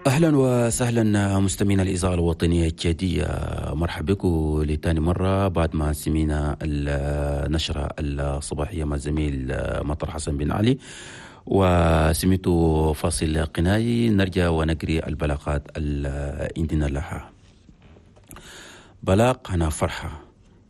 اهلا وسهلا مستمعينا الاذاعة الوطنية التشاديه، مرحبا بكم لثاني مرة بعد ما سمينا النشرة الصباحية مع الزميل مطر حسن بن علي وسميته فاصل قناي. نرجع ونقري البلاغات اللي عندنا لها. بلاغ هنا فرحه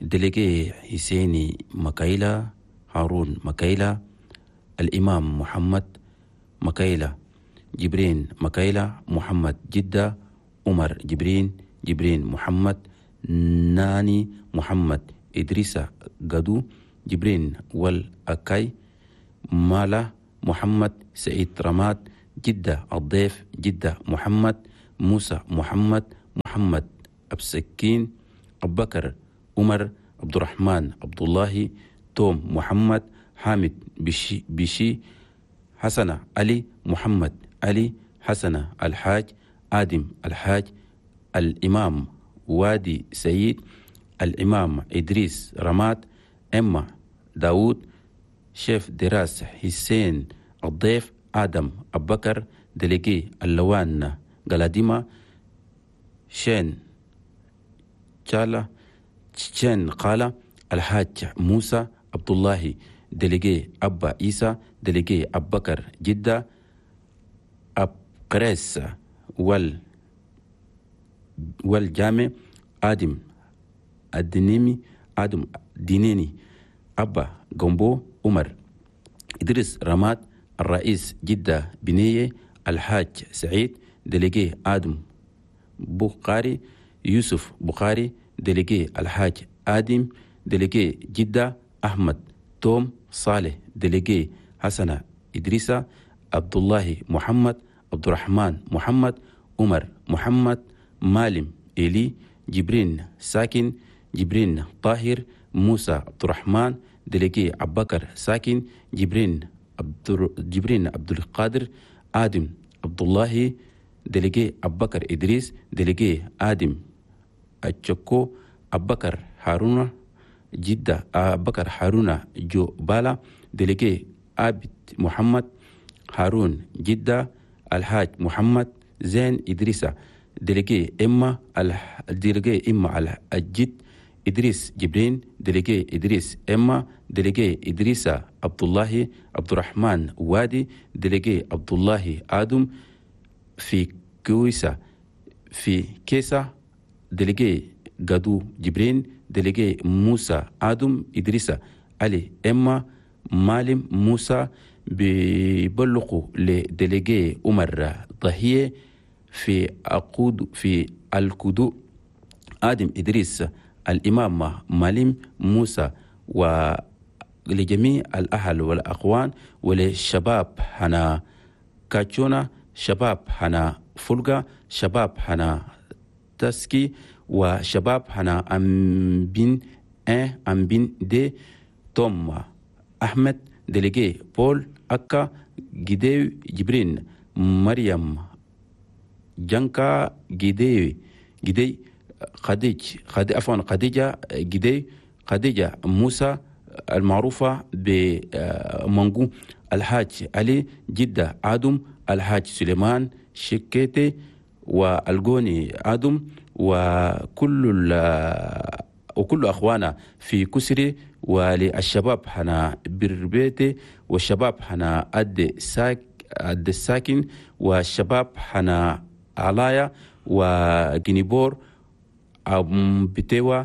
délégué حسيني مكايلة، هارون مكايلة، الإمام محمد مكايلة، جبرين مكايلة، محمد جدة، عمر جبرين، جبرين محمد، ناني محمد، إدريسة قدو، جبرين والأكاي، مالا محمد، سعيد رماد، جدة الضيف، جدة محمد، موسى محمد، محمد أبسكين، أبو بكر عمر، عبد الرحمن عبد الله، توم محمد، حامد بشي، بشي، حسنة علي، محمد علي، حسنة الحاج، آدم الحاج، الإمام وادي سيد، الإمام إدريس رماد، إما داود، شيف دراس حسين الضيف، آدم أبكر، délégué اللوان قلاديما، شين شالا شين قال الحاج موسى عبد الله، délégué أبا عيسى، délégué أبكر جدة، أبقريس والجامع، آدم الدنيمي، آدم دينيني، أبا جومبو، عمر إدريس رماد، الرئيس جدة بنية، الحاج سعيد، délégué آدم بخاري، يوسف بخاري، délégué الحاج آدم، délégué جدة، أحمد توم صالح، délégué حسنة إدريسة، عبد الله محمد، عبد الرحمن محمد، عمر محمد، مالم إلي، جبرين ساكن، جبرين طاهر، موسى عبد الرحمن، délégué أبكر ساكن، جبرين عبد القادر، آدم عبد الله، délégué أبكر إدريس، délégué آدم التشكو، أبكر هارون جدة، أبكر هارون جو بالا، délégué عابد محمد هارون جدة، الحاج محمد زين إدريسة، délégué إما délégué إما الجد، إدريس جبرين، délégué إدريس إما، délégué إدريسة عبد الله، عبد الرحمن وادي، délégué عبد الله آدم في كويسة في كيسة، délégué قادو جبرين، délégué موسى آدم، إدريسة علي إما، مالم موسى. بيبلغوا ل délégué عمر ضهية في أقود في الكدو، آدم إدريس، الإمام مالم موسى، ولجميع الأهل والأخوان وللشباب هنا كاتشونا، شباب هنا فولغا، شباب هنا تسكي، وشباب هنا أمبين 1 أمبين 2، توم أحمد، délégué بول أكا، جديو جبرين، مريم جانكا جديو جدي، خديج خدي عفوا خديجة جدي، خديجة موسى المعروفة بمانجو، الحاج علي جدة آدم، الحاج سليمان شكيتي، والجوني آدم، وكل أخوانا في كسري، وللشباب هنا بربيتي، والشباب هنا أد ساك أد الساكن، والشباب هنا علايا وجنيبور أم بتوا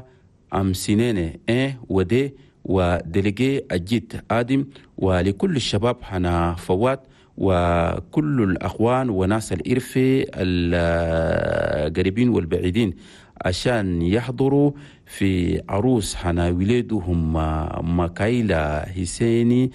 أم سنينة إيه ودي، و délégué أجيت آدم، ولكل الشباب هنا فوات، وكل الأخوان وناس الإرفي القريبين والبعيدين عشان يحضروا في عروس هنا ولادهم مكايلة حسيني،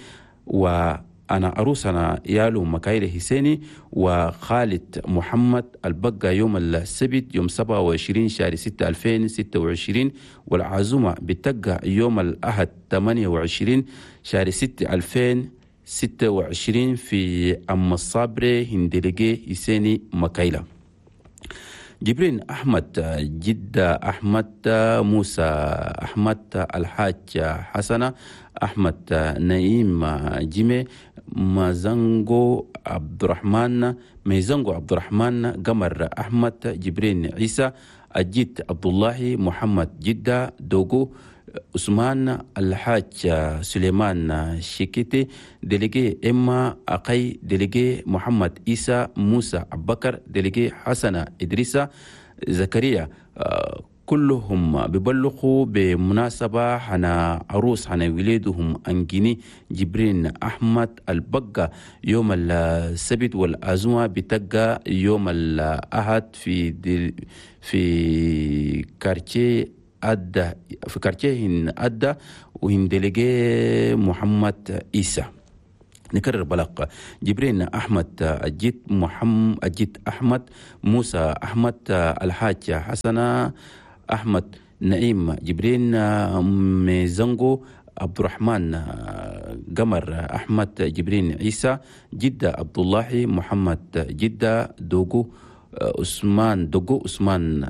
وأنا عروس أنا يالو مكايلة حسيني وخالد محمد البقى يوم السبت يوم 27 شهر 6 2026، والعزومة بتقع يوم الأحد 28 شهر 6 2026 في أم الصابري هندلقي حسيني مكايلة. جبرين أحمد جدة أحمد موسى أحمد الحاج حسنة أحمد نعيم جيمي مازانغو عبد الرحمن ميزانغو عبد الرحمن قمر أحمد جبرين عيسى الجد عبد الله محمد جدة دوغو عثمان الحاج سليمان شيكيتي délégué إما أقي délégué محمد إيسى موسى أبكر délégué حسن إدريسة زكريا. كلهم ببلغوا بمناسبة حنا عروس حنا وليدهم أنجيني جبرين أحمد البقة يوم السبت، والأزمة بتقى يوم الأحد في quartier أدى في quartier هن أدى وهن délégué محمد إيسى. نكرر بلاغ جبرين أحمد الجد محمد الجد أحمد موسى أحمد الحاج حسنة أحمد نعيم جبرين ميزانغو عبد الرحمن قمر أحمد جبرين عيسى جدة عبد الله محمد جدة دوغو عثمان دوغو عثمان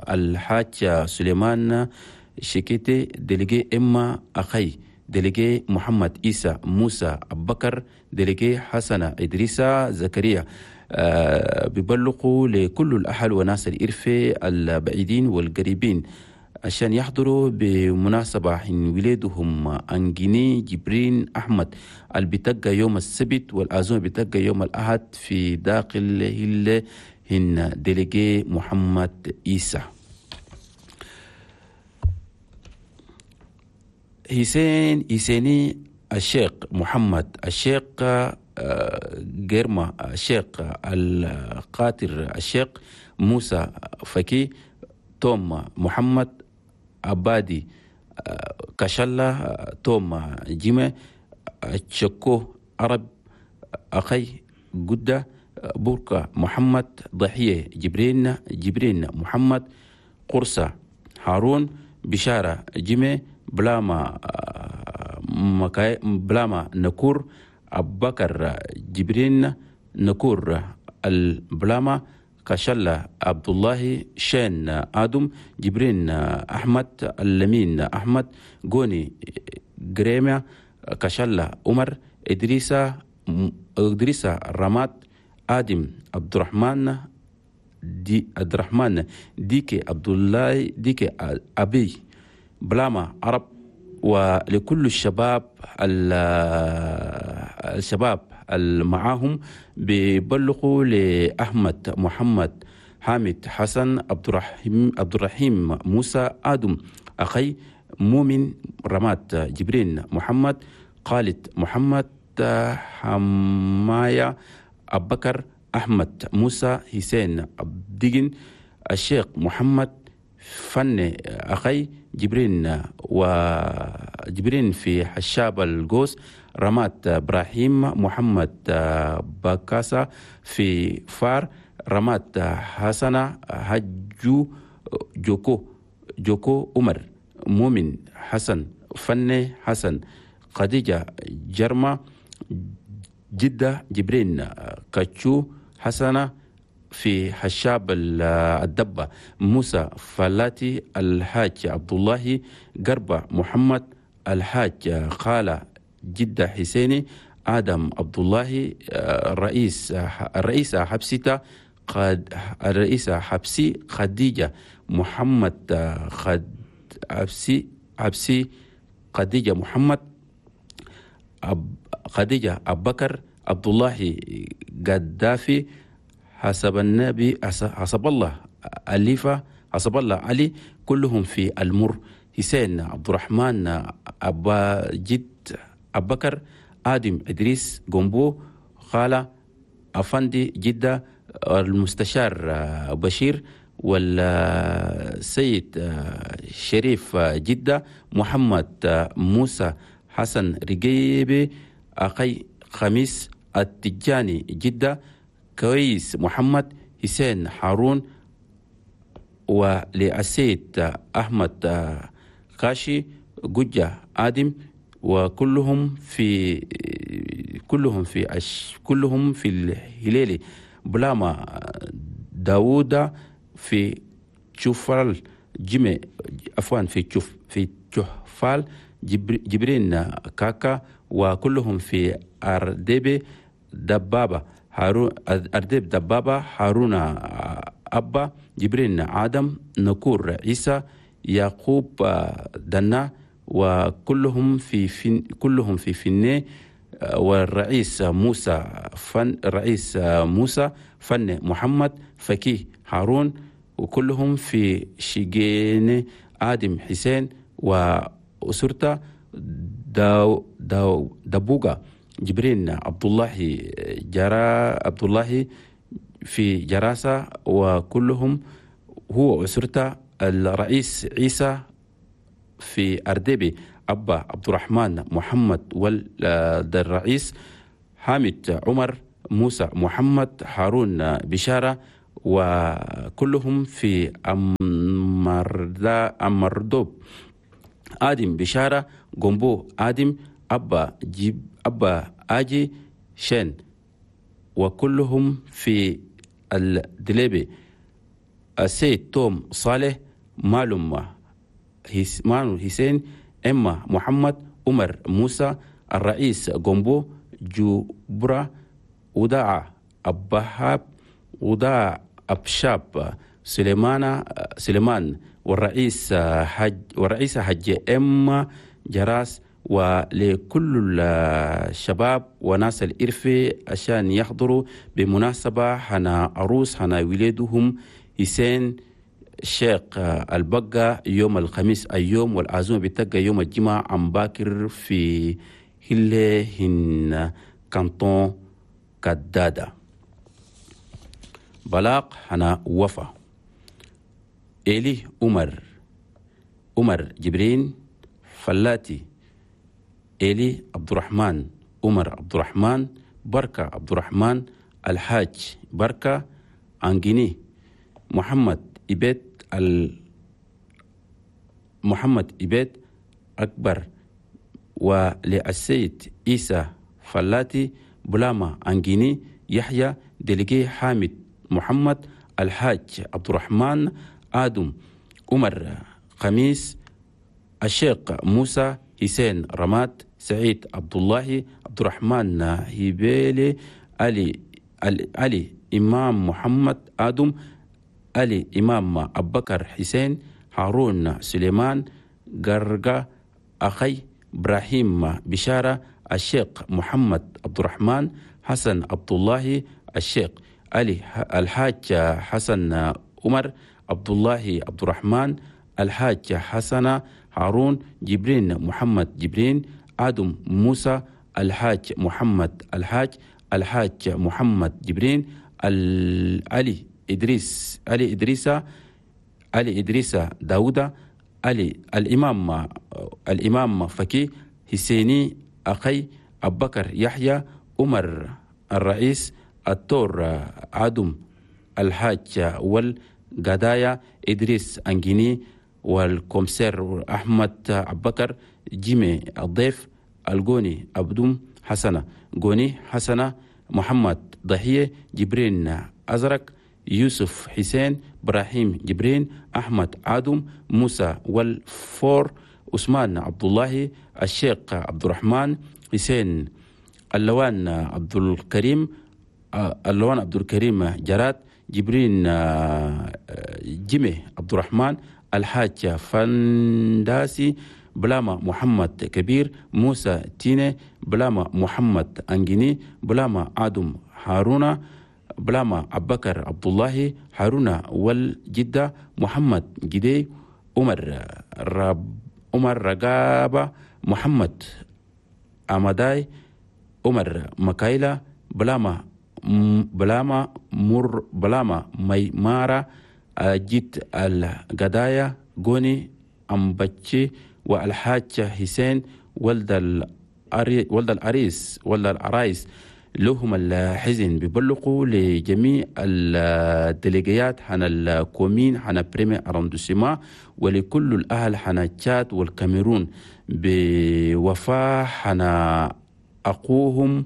الحاج سليمان شيكيتي délégué إما أخي délégué محمد إيسى موسى أبكر délégué حسن إدريسة زكريا. بيبلغوا لكل الأهل وناس الإرفة البعيدين والقريبين عشان يحضروا بمناسبة حين ولادهم أنجيني جبرين أحمد البتقى يوم السبت والأزمة بتقى يوم الأحد في داخل هل هن délégué محمد إيسى. حسين حسيني الشيخ محمد الشيخ جيرما الشيخ القاتر الشيخ موسى فكي توم محمد عبادي كشلة توم جيمة تشكو عرب أخي جدة بوركا محمد ضحية جبرين جبرين محمد قرصة هارون بشارة جيمة بلاما بلاما نكور أبكر جبرين نكور البلاما كشلة عبد الله شين آدم جبرين أحمد اللمين أحمد غوني غريمة كشلة عمر إدريسة إدريسة رماد آدم عبد الرحمن دي عبد الرحمن ديكي عبد الله ديكي أبي بلاما عرب. ولكل الشباب الشباب المعاهم بيبلغوا لأحمد محمد حامد حسن عبد الرحيم موسى آدم أخي مؤمن رماد جبرين محمد خالد محمد حماية أبكر أحمد موسى حسين عبدين الشيخ محمد فن أخي جبرين وجبرين في حشاب القوس رمات إبراهيم محمد باكاسا في فار رمات حسنة هجو جوكو عمر مؤمن حسن فن حسن خديجة جرمة جدة جبرين كاتشو حسنة في حشاب الدبة موسى فلاتي الحاج عبد الله قربة محمد الحاج خالة جدة حسيني آدم عبد الله الرئيسة حبسيتا قد الرئيسة حبسي خديجة محمد خد حبسي خديجة محمد خديجة أبكر عبد الله قدافي حسب النبي حسب الله أليفة حسب الله علي كلهم في المر حسين عبد الرحمن أبا جد أبكر آدم إدريس جنبو خالة أفندي جدة المستشار بشير والسيد شريف جدة محمد موسى حسن رقيبي أخي خميس التجاني جدة كويس محمد حسين هارون ولأسيد أحمد كاشي جوجة آدم وكلهم في كلهم في كلهم في الهلالي بلاما داوود في تشوفال جيمي عفوا في تشوفال جبرين كاكا، وكلهم في أرديب دبابة هارون أرديب دبابة هارون أبا جبرين آدم نكور عيسى يعقوب دنا، وكلهم في كلهم في فني. والرئيس موسى فن الرئيس موسى فن محمد فكيه هارون، وكلهم في شيجين آدم حسين وأسرته داو داو دبوغا جبرين عبد الله جرا عبد الله في جراسة، وكلهم هو أسرته. الرئيس عيسى في أردبي أبا عبد الرحمن محمد، والرئيس حامد عمر موسى محمد هارون بشارة، وكلهم في أمردوب آدم بشارة جنبو آدم أبا جيب أبا آجي شين، وكلهم في الدليبي. السيد توم صالح مالوم مانو حسين إما محمد عمر موسى الرئيس جنبو جبرة وداع أبهاب وداع أبشاب سليمان، والرئيس حج والرئيس حج إما جراس. ولكل الشباب وناس الإرفي عشان يحضروا بمناسبة حنا عروس حنا ولادهم حسين الشيخ البقة يوم الخميس اليوم، والعزومة بتبقى يوم الجمعة عم باكر في هن كانتون كدادة. بلاق حنا وفا إلي عمر جبرين فلاتي إلي عبد الرحمن عمر عبد الرحمن بركة عبد الرحمن الحاج بركة أنجيني محمد إبيت محمد إبيت أكبر، وللسيد عيسى فلاتي بلاما أنجيني يحيى دلقي حامد محمد الحاج عبد الرحمن آدم عمر خميس الشيخ موسى حسين رماد سعيد عبد الله عبد الرحمن هبيلي علي إمام محمد آدم علي إمام أبكر حسين هارون سليمان غرغا أخي إبراهيم بشارة الشيخ محمد عبد الرحمن حسن عبد الله الشيخ علي الحاج حسن عمر عبد الله عبد الرحمن الحاج حسن هارون جبرين محمد جبرين آدم موسى الحاج محمد الحاج محمد جبرين علي إدريس علي إدريس داوودة علي الإمام فكي حسيني أخي أبكر يحيى عمر الرئيس التور آدم الحاج والقدايا إدريس أنجيني والكومسير أحمد أبكر جيمي الضيف الجوني أبدوم حسنة جوني حسنة محمد ضحية جبرين أزرق يوسف حسين إبراهيم جبرين أحمد آدم موسى والفور عثمان عبد الله الشيخ عبد الرحمن حسين اللوان عبد الكريم جراد جبرين جيمي عبد الرحمن الحاج فنداسي بلاما محمد كبير موسى تيني بلاما محمد أنجيني بلاما آدم هارونا بلاما أبكر عبد الله هارونا والجدة محمد جدي عمر رقابة محمد أمداي عمر مكايلا بلاما مر بلاما ميمارا جيت القدايا غوني أمبتشي والحاج حسين ولد العرايس لهم الحزن بيبلغوا لجميع الديليجيات حنا ال commune حنا premier arrondissement ولكل الأهل حنا تشاد والكاميرون بوفاة حنا أخوهم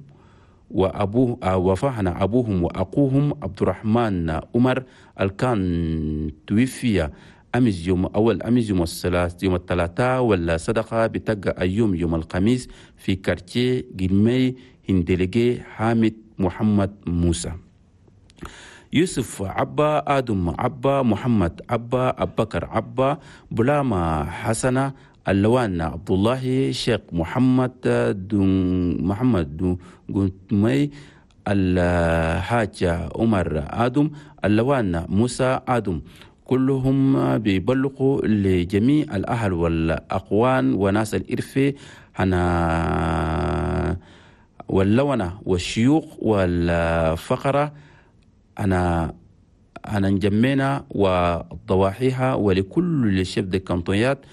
وأبوه وفاحنا أبوهم وأخوهم عبد الرحمن عمر الكان توفي أمس يوم أول أمس يوم الثلاث يوم الثلاثاء، ولا صدقة بتقى اليوم يوم الخميس في كارتيه جرمي هندلجي حامد محمد موسى. يوسف عبا، آدم عبا، محمد عبا، أبكر عبا، بلاما حسنة، اللوان عبد الله، شيخ محمد دون محمد دون الحاج عمر آدم، اللوان موسى آدم، كلهم بيبلغوا لجميع الأهل والأقوان وناس الإرفة هنا واللونة والشيوخ والفقرة أنا نجمينا وضواحيها ولكل الشيف دي كانتونيات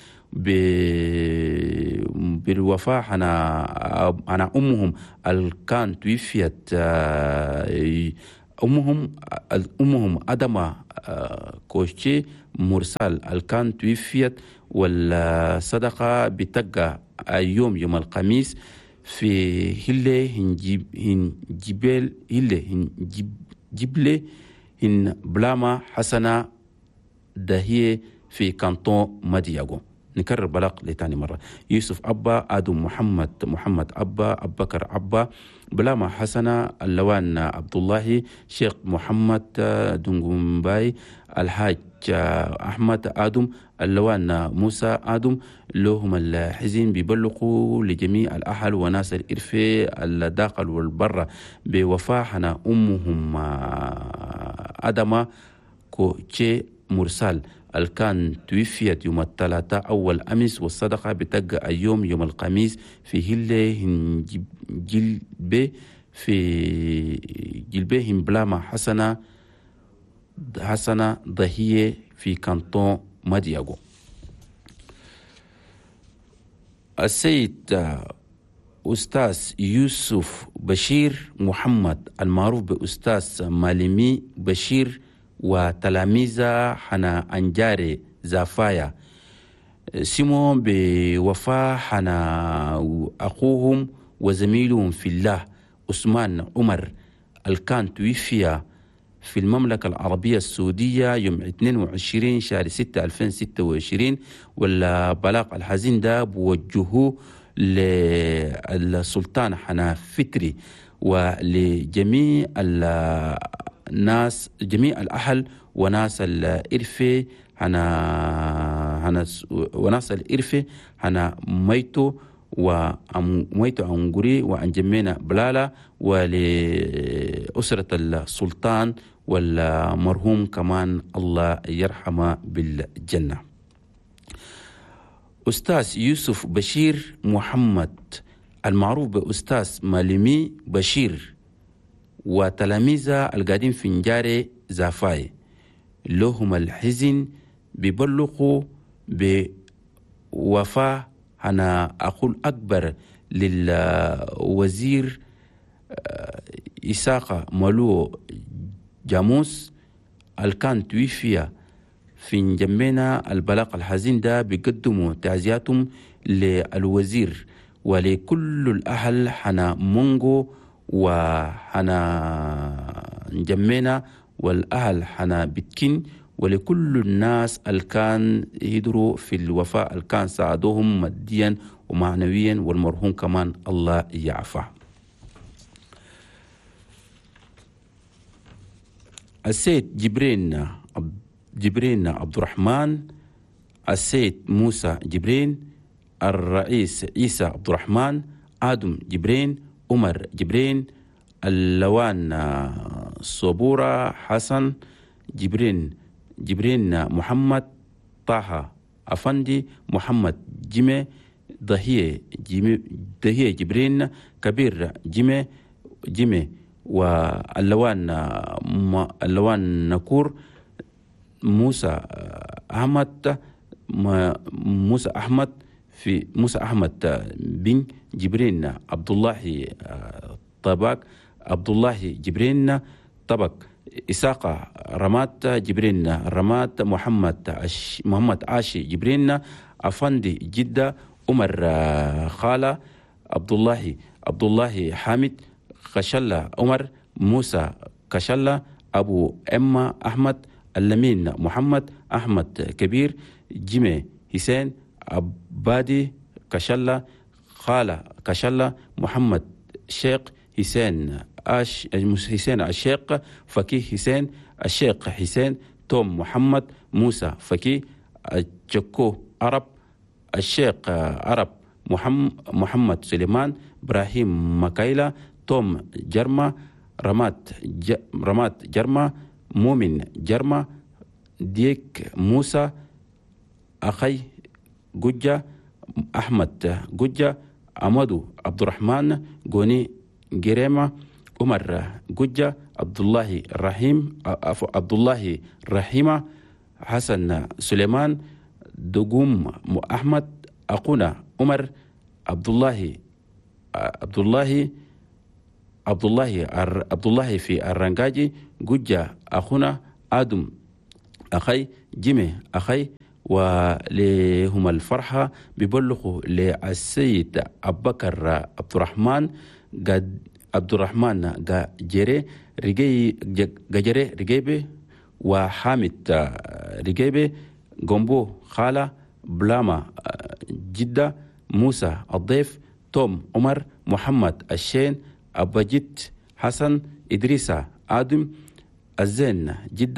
بالوفاة أنا أمهم الكان توفيت، أمهم أدمة كوشي مرسال الكان توفيت، والصدقة بتقى اليوم يوم الخميس في هلة هن جبل هلة هن جبلة هن بلاما حسنة دهية في كانتون مدياغو. نكرر بلاغ لتاني مرة: يوسف أبا، آدم محمد، محمد أبا، أبكر أبا، بلاما حسنة، اللوان عبد الله، شيخ محمد دونغومباي، الحاج أحمد آدم، اللوان موسى آدم، لهم الحزين بيبلغوا لجميع الأهل وناس الإرفة الداخل والبرة بوفاحنا أمهم أدمة كوتشي مرسال الكان توفيت يوم الثلاثاء أول أمس، والصدقة بتقى اليوم يوم الخميس في هلة جلبة في جلبة بلاما حسنة ضهية في كانتون مدياغو. السيد أستاذ يوسف بشير محمد المعروف بأستاذ مالمي بشير وتلاميذه حنا أنجاري زافايا سمو بوفاة حنا أخوهم وزميلهم في الله عثمان عمر الكان توفي في المملكة العربية السعودية يوم 22 شهر 6 2026. والبلاغ الحزين ده بوجهه للسلطان حنا فتري ولجميع الناس جميع الأهل وناس الإرفة هنا وناس الإرفة هنا ميتو وميتو أنغوري وأنجمينا بلالا ولأسرة السلطان والمرحوم كمان الله يرحمه بالجنة. أستاذ يوسف بشير محمد المعروف بأستاذ مالمي بشير وتلاميذه القادم في نجاري زافاي لهم الحزن بيبلغوا بوفاة أنا أقول أكبر للوزير إساقة مالو جاموس الكان توفي في نجمينا. البلاغ الحزين ده بيقدموا تعزياتهم للوزير ولكل الأهل حنا مونغو وحنا نجمينا والأهل حنا بتكين ولكل الناس الكان يدروا في الوفاء الكان ساعدوهم ماديا ومعنويا، والمرحوم كمان الله يعفى. السيد جبرين عبد الرحمن، السيد موسى جبرين، الرئيس عيسى عبد الرحمن، آدم جبرين، عمر جبرين، اللوان صبورة حسن جبرين، جبرين محمد طه أفندي، محمد جيمي، ضهية ضهية جبرين، كبير جيمي جيمي، واللوان اللوان نكور، موسى أحمد، موسى أحمد في موسى أحمد بن جبرين، عبد الله طبق، عبد الله جبرين طبق، إساقة رمات جبرين رمات، محمد عاشي جبرين، أفندي جدة، عمر خالة، عبد الله حامد، خشلة عمر، موسى كشلة، أبو إما أحمد، اللمين محمد، أحمد كبير، جيمي حسين، عبادي كشلة، خالة كشلة، محمد شيخ حسين، حسين الشيخ، فكي حسين، الشيخ حسين، توم محمد، موسى فكي، جكو عرب، الشيخ عرب، محمد سليمان، إبراهيم مكايلة، توم جرما، رمات جرما، مؤمن جرما، ديك موسى، أخي جوجة، أحمد جوجة، أمادو عبد الرحمن، جوني جريمة، عمر جوجة، عبد الله رحيم، عبد الله رحيمة، حسن سليمان، دقوم أحمد، أقونا عمر، عبد الله عبد الله عبد الله عبد الله في الرنجاجي، جوجة أخونا، آدم أخي، جيمي أخي. ولهم الفرحة بيبلغوا للسيد أبو بكر عبد الرحمن قد عبد الرحمن جري رجي جري رجيبي، وحامد رجيبي، جومبو خالة، بلاما جدة، موسى الضيف، توم عمر، محمد الشين، أبجيت حسن، إدريسة آدم، الزين جدة.